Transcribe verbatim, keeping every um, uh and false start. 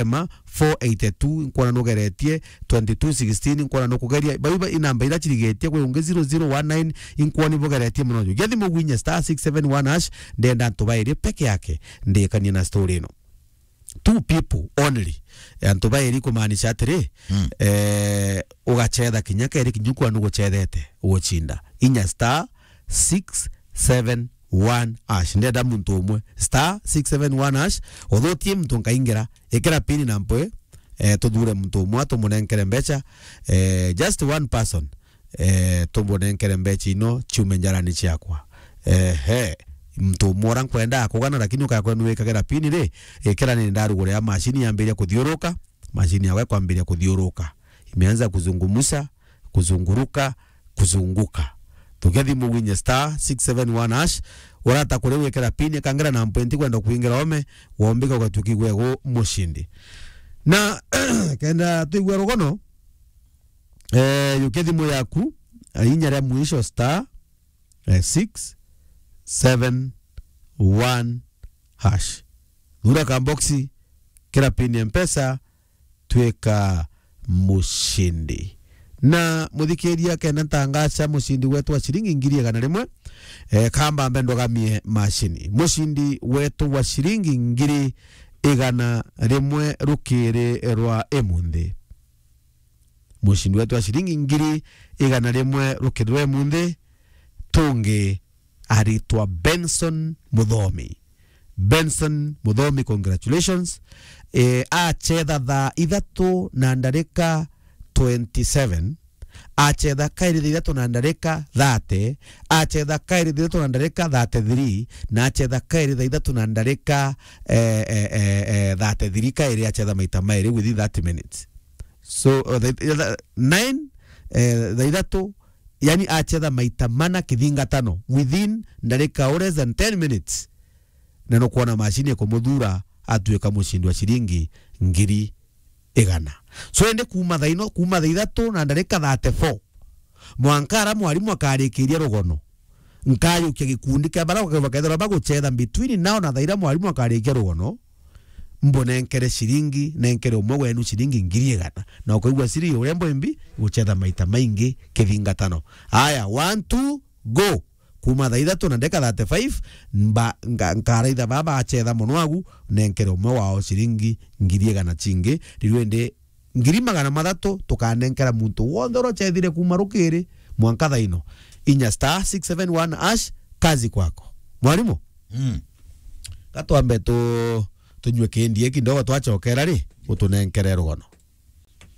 Rema four eighty two, nkwona nugeretie twenty two sixteen, nkwona nukugeria. Bau iba inamba ira cirigetie, kwi ungi zero zero one nine, inkwona ibugeretie mono. Jukia thimu gwinye star six seven one hash, ndenda antu bairi peke yake ndikanie na story ino. Two people only. Antu bairi kumaanisha atiri, Mm. eh, ugachetha kinya keri kinya kwa nuguchethete uguchinda. Inya star six seven one hash. Ndenda muntu umwe. Star six seven one hash. Uthutie muntu nkaingira. Ikira pin na mpwe. Eh, tuthure muntu umwe, tumunenkere mbecha. Eh, just one person. Eh, tumunenkere mbecha ino, ciume njarani ciakwa. Ehe. Muntu umwe ura nkwenda akugana, lakini ukakwenu wikagera pin ri, ikira ni ndarugure ya machine yambiria kuthiuruka, machine yawe kwambiria kuthiuruka. Imeanza kuzungumusa, kuzunguruka, kuzunguka. Thukia thimu gwinye star six seven one hash, urata kuri wikira pin, kangira na mpwenti kwenda kuingira ome, wombika ugatuki gwegu mushindi. Na kenda tuigwe rugono, eh, yukia thimu yaku, eh, inya ria mwisho star, eh, six seven one hash. Thura kamboxi, kira pin ya Mpesa, twika mushindi. Na muthikiria, kenda ntangaca mushindi wetu wa ciringi ngiri igana rimwe, eh, kamba mbe ndogamie mashini. Mushindi wetu wa ciringi ngiri igana rimwe rukiri rwa imunthi. Mushindi wetu wa ciringi ngiri igana rimwe rukiri rwa imunthi, tungi aritwa Benson Muthomi. Benson Muthomi, congratulations. Eh, achetha thaa ithatu na ndarika twenty seven, achetha kairi thaa ithatu na ndarika thirty, achetha kairi thaa ithatu na ndarika thirty three, na achetha kairi thaa ithatu na ndarika, eh, eh, eh, eh, thirty three, kairi achetha maita mairi within thirty minutes. So, uh, the, the, nine, eh, thaa ithatu, yani achetha maita mana kithingatano within ndarika or less than ten minutes. Na nukwona mashini ikumuthura atuika mushindi wa ciringi ngiri igana. So, indi kuma thaa ino, kuma thaa ithatu na ndarika thirty four, mwanka ara mwarimu akarikiria rugono, nkajukia gikundi kia bara bakethirwa baguchetha between now na thaa iria mwarimu akarikia rugono, mbunenkere ciringi, nenkere umwe wenu ciringi ngiri igana. Na ukaigua siri uria mbwimbi guchetha maita maingi kithingatano. Aya, one, two, go. Kuma thaa ithatu na ndeka thirty-five, mba, nga, nkaraitha baba achetha mono agu, nenkere umwe wao ciringi ngiri igana cingi, riu indi ngiri magana mathatu tukanenkera muntu wonthe uria uchethire kuma rukiri mwanka thaa ino. Inya star six seven one hash, kazi kwako. Mwarimu? Mm. Gatwambe tu, tunywe kindi kidogo, twachokera ri, utunenkere rugono.